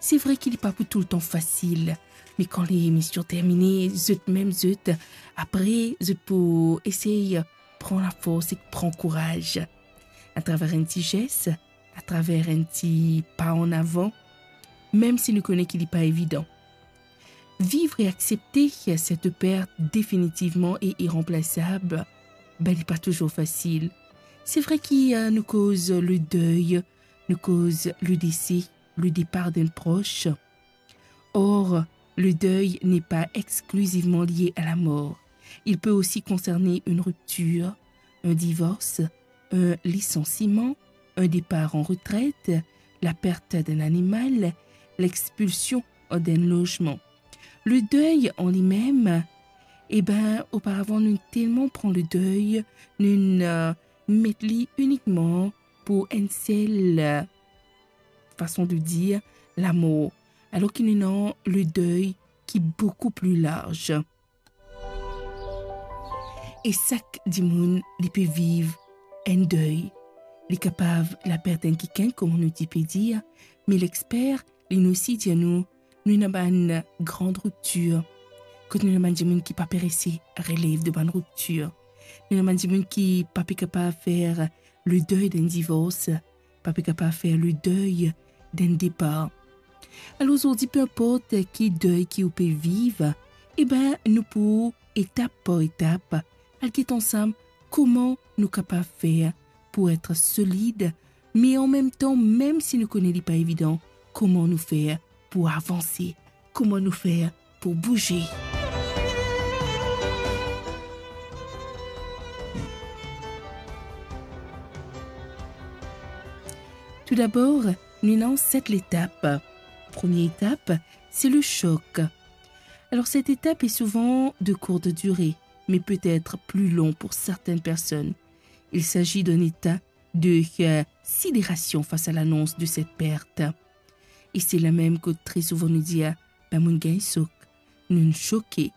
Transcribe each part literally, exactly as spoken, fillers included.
Se vre ki li pa pou toultan fasil, me kan lemision termine, zot mem zot, apre, zot pou esey pran lafors ek pran kouraz. Atraver enn ti zes, atraver enn ti pa an avan, mem si nou kone ki li pa evidan. Viv e aksepte set pert definitivman e iranplasab, be, li pa touzour fasil. Se vre ki, eh, nou koz le dey, nou koz le dese, le depar d'enn pros. Or, le deuil n'est pas exclusivement lié à la mort. Il peut aussi concerner une rupture, un divorce, un licenciement, un départ en retraite, la perte d'un animal, l'expulsion d'un logement. Le deuil en lui-même, e ben, oparavan, nou telman pran le dey, nou, eh, met li inikman pou enn sel, eh, fason de dir, lamor. Alor ki nou ena le dey ki boukou pli larz. E sak dimoun, li pe viv enn dey. Li kapav lapert enn kikenn, kouma nou ti pe dir, me lexper, li osi dir nou, nou ena bann gran riptir. Kot nou ena bann dimoun ki pa pe resi relev de bann riptir. Nou ena bann dimoun ki pa pe kapav fer le dey d'enn divors, pa pe kapav fer le dey d'enn depar. Alor zordi, pe inport ki dey ki ou pe viv, e ben, nou pou, etap par etap, al get ansam kouma nou kapav fer pou et solid, me anmemtan, mem si nou kone li pa evidan, kouma nou fer pou avanse, kouma nou fer pou bouze. Toudabor, nou ena set letap. Premie etap, c'est le choc. Alors, cette étape est souvent de courte durée, mais peut être plus long pour certaines personnes. Il s'agit d'un état de, euh, sidération face à l'annonce de cette perte. E se la mem kot tre souvan nou dir, "Ben, mo'nn gagn sok," nou'nn soke.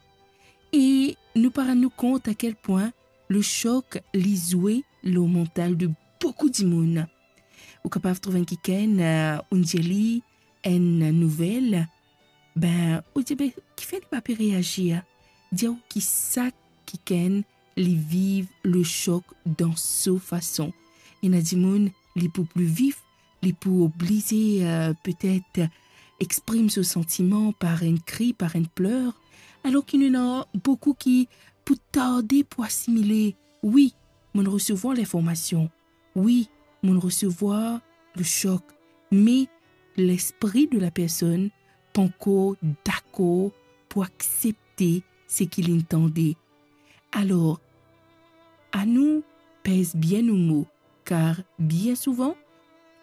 E nou pa rann nou kont a kel pwin le sok, li zwe lor mantal de boukou dimoun. Ou kapav trouv enn kikenn, eh, ou'nn dir li enn nouvel, ben, ou dir, "Be, kifer li pa pe reazir?" Dir ou ki sak kikenn li viv le sok dan so fason. Ena dimoun, li pou pli vif, li pou oblize, eh, petet exprim so santiman par enn kri, par enn pler, alor ki nou ena boukou ki pou tarde pou asimile. Wi, mo'nn resevwar linformasion. Wi, mo'nn resevwar le sok, me lespri de la personn pankor dakor pou aksepte seki li'nn tande. Alor, anou pez bien nou mo, kar bien souvan,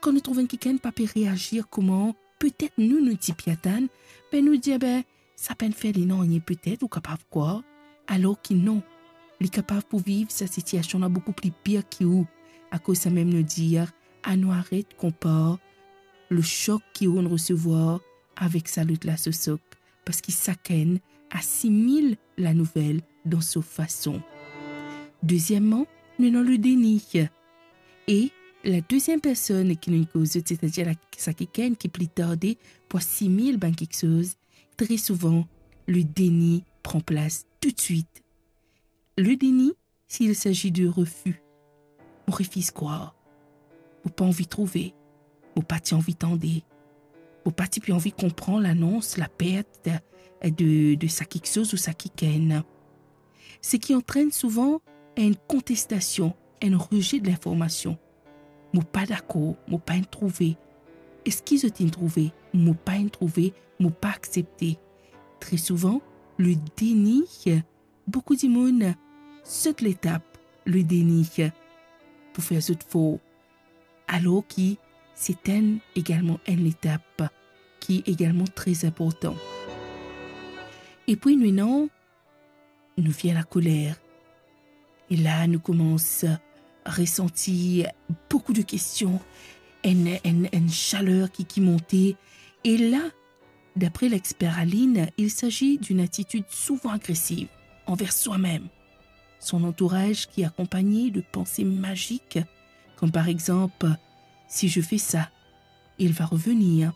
kan nou trouv enn kikenn pa pe reazir kouma petet nou, nou ti pe atann, be nou dir, "Be, sa pa'nn fer li nanye petet," ou kapav krwar, alor ki non, li kapav pou viv sa sitiasion la boukou pli pir ki ou. Akoz samem nou dir, anou aret konpar le sok ki ou'nn resevwar avek sa lot la so sok, parski sakenn asimil lanouvel dan so fason. Dezieman, nou ena le deni. E la deziem personn ki nou'nn koz zot, setadir la, sa kikenn ki pli tarde pou asimil bann kiksoz, tre souvan, le deni pran plas toutswit. Le deni, s'il s'agit de refi, mo refiz krwar, mo pa anvi trouve, mo pa ti anvi tande, mo pa ti pe anvi konpran lanons lapert de, de sa kiksoz ou sa kikenn. Seki antrenn souvan enn kontestasion, enn reze de linformasion. Mo pa dakor, mo pa'nn trouve. Eski zot inn trouve? Mo pa'nn trouve, mo pa aksepte. Tre souvan, le deni, boukou dimoun sot letap le deni pou fer zot for, alor ki se enn egalman enn letap ki egalman tre inportan. Epi nou ena, nou vinn lakoler. E la, nou koumans resanti boukou de kestion, enn, enn, enn saler ki, ki monte. E la, d'après l'expert Aline, il s'agit d'une attitude souvent agressive envers soi-même, son entourage qui est accompagné de pensées magiques, comme par exemple, "Si je fais ça, il va revenir.